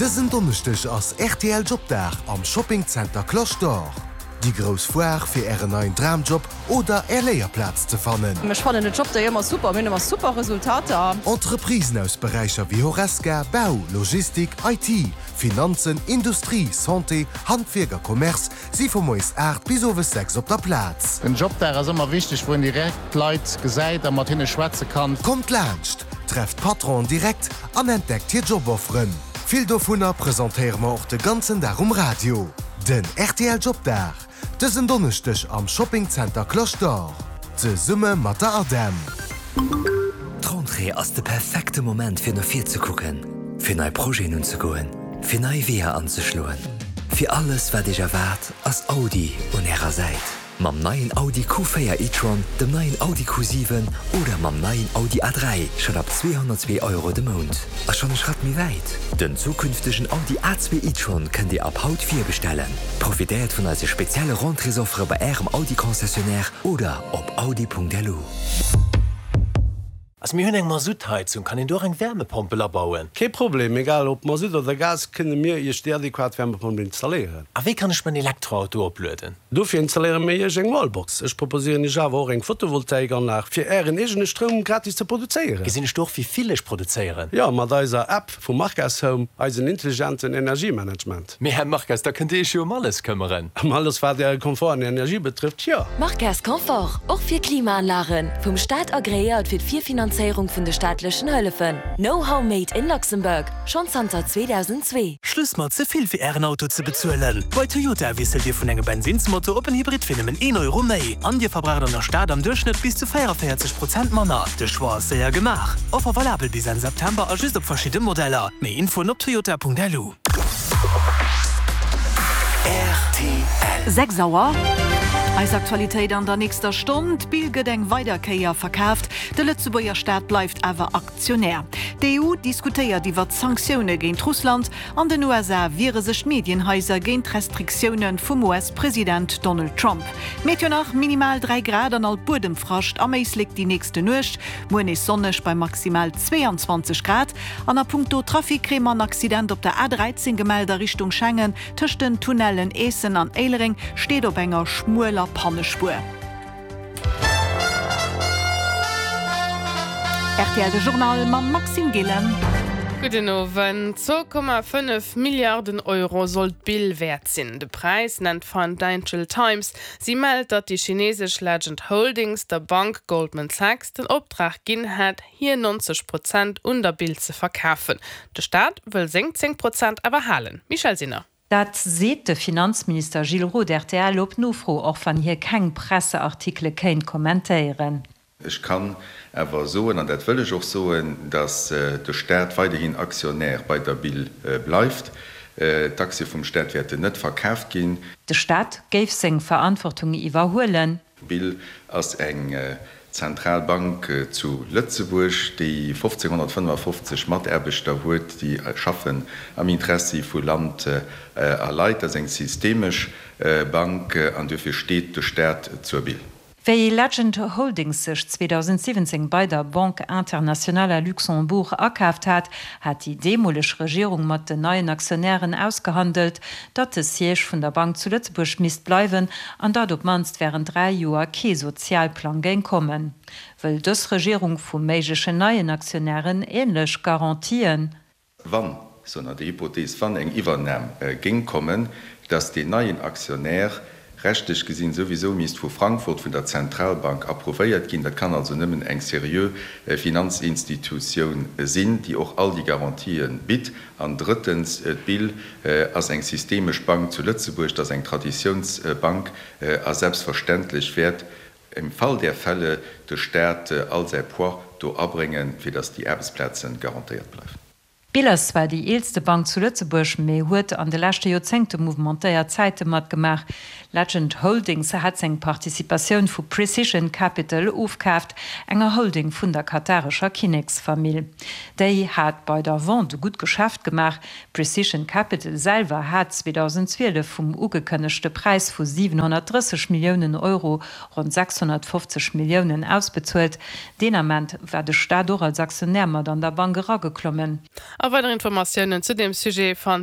Dësen Donneschdeg ass rtl Jobdag am Shopping Center Cloche d'Or. Déi grouss Foire fir ären neien Dramjob oder är Léierplaz ze fannen. Ech fannen den Jobday ëmmer super, mir hunn ëmmer super Resultater. Entreprisen aus Beräicher wéi Horesca, Bau, Logistik, IT, Finanzen, Industrie, Santé, Handwierk a Commerce si vu moies 8 bis owes 6 op der Plaz. Den Jobdag ass ëmmer wichteg, wou een direkt d'Leit gesäit a mat hinne schwätze kann. Kommt laanscht, trefft d'Patronen direkt an entdeckt hir Jobofferen. Vill dovunner presentéiere mer och de ganzen Dag um Radio. Den rtl Jobdag, dësen Donneschdeg am Shopping Center Cloche d'Or, zesumme mat der ADEM. D'Rentrée ass de perfekte Moment fir no vir ze kucken, fir nei Projeten unzegoen, fir nei Weeër anzeschloen. Fir alles wat Iech erwaart, ass Audi un Ärer Säit. Mam neien Audi Q4 e-tron, dem neien Audi Q7 oder mam neien Audi A3 schonn ab 202 Euro de Mount. A schonn e Schratt méi wäit, Den zukünftegen Audi A2 e-tron kënnt Dir ab haut virbestellen. Profitéiert vun eise spezielle Rentréesoffere bei Ärem Audi-Concessionnaire oder op audi.lu. Also mir hunn eng Masuttheizung, kann een do och eng Wärmepompel abauen? Kee Problem, egal ob Masutt oder Gas, kënne mir Iech déi adequat Wärmepompel installéieren. A wéi kann ech mäin Elektroauto oplueden? Dofir installéiere mir Iech eng Wallbox. Ech proposéieren Iech awer och eng Photovoltaikanlag, fir Ären eegene Stroum gratis ze produzéieren. Gesinn ech do och wéi vill ech produzéieren? Jo, mat eiser App vu Marques Home, eisen intelligenten Energiemanagement. Mee Här Marques, da kënnt Dir Iech jo ëm alles këmmeren. Ëm alles wat Äre Komfort an Energie betrëfft, jo. Marques Confort, och fir Klimaanlagen, vum Staat agreéiert fir d'Virfinanzéierung vun de staatlechen Hëllefen. Know-how made in Luxembourg, schonn zanter 2002. Schluss mat ze vill fir Ären Auto ze bezuelen! Bei Toyota wiesselt Dir vun engem Bensinnsmotor op en Hybrid fir nëmmen een Euro méi. An Dir verbraucht an der Stad am Duerchschnëtt bis zu 44 Prozent manner. De Choix ass séier gemaach. Offer valabel bis Enn September a just op verschidde Modeller. Méi Infoen op toyota.lu. Rtl. 6 Auer. Eis Aktualitéit an der nächster Stonn, D'Bill gëtt eng weider Kéier verkaaft, de Lëtzebuerger Staat bleift awer Aktionär. D'EU diskutéiert iwwert Sanktioune géint Russland. An den USA wiere sech d'Medienhaiser géint d'Restriktioune vum US-President Donald Trump. Meteo nach, Minimal 3 Grad an alt Buedemfrascht am Éislek déi nächste Nuecht. Muer nees sonneg bei maximal 22 Grad. An a punkto Trafic kréie mer en Accident op der A13 gemellt a Richtung Schengen, tëscht den Tunnellen Eessen an Éilereng, steet op enger schmueler Pannespuer. Rtl De Journal mam Maxime Gillen. Gudden Owend. 2,5 Milliarden Euro soll d'Bill wäert sinn. De Präis nennt d'Financial Times. Si mellt, datt déi chinesesch Legend Holdings der Bank Goldman Sachs den Optrag ginn hätt, hir 90 Prozent un der Bild ze verkafen. De Staat wëll seng 10 Prozent awer halen. Michèle Sinner. Dat seet de Finanzminister Gilles Roth rtl op Nofro, och wann hie keng Presseartikele kéint kommentéieren. Ech kann awer soen, an dat wëll ech och soen, datt de Staat weiderhin Actionnaire bei der Bill bleift. D'Aktie vum Staat wäerten net verkaaft ginn. De Staat géif seng Verantwortung iwwerhuelen. D'Bill ass eng zentral Bank zu Lëtzebuerg, déi 1555 Mataarbechter huet, déi schaffen am Interessi vu Land a Leit. Dat ass eng systemesch Bank an duerfir steet de Staat zur Bill. Wéi Legend Holdings sech 2017 bei der Banque Internationale à Luxembourg akaaft hat, hat déi deemoleg Regierung mat den neien Aktionären ausgehandelt, datt de Siège vun der Bank zu Lëtzebuerg misst bleiwen an datt op d'mannst wärend 3 Joer kee Sozialplang géing kommen. Wëll dës Regierung vu méiglechen neien Aktionären änlech Garantien? Wann, sou nach déi Hypothees, wann eng Iwwernam géing kommen, datt deen neien Aktionär rechtlech gesinn souwisou misst vu Frankfurt, vun der Zentralbank approuvéiert ginn. Dat kann also nëmmen eng seriö Finanzinstitutioun sinn, déi och all déi Garantië bitt. An drëttens, d'BIL ass eng systemesch Bank zu Lëtzebuerg, dat ass eng Traditiounsbank a selbstverständlech wäert im Fall der Fälle de Staat all säi Poids do abréngen, fir datt déi Aarbechtsplaze garantéiert bleiwen. D'Bill ass zwar déi eelste Bank zu Lëtzebuerg, mee huet an de leschte Joerzéngte mouvementéiert Zäite matgemaach. Legend Holdings hat seng Participatioun vu Precision Capital ofkaaft, enger Holding vun der katarescher Kinneksfamill. Déi hat bei der Vente e gutt Geschäft gemaach. Precision Capital selwer hat 2012 vum ugekënnegte Präis vu 730 Milliounen Euro ronn 650 Milliounen ausbezuelt. Deen Ament war de Staat och als Aktionär mat an der Bank erageklommen. A weider Informatiounen zu deem Sujet fannt Dir.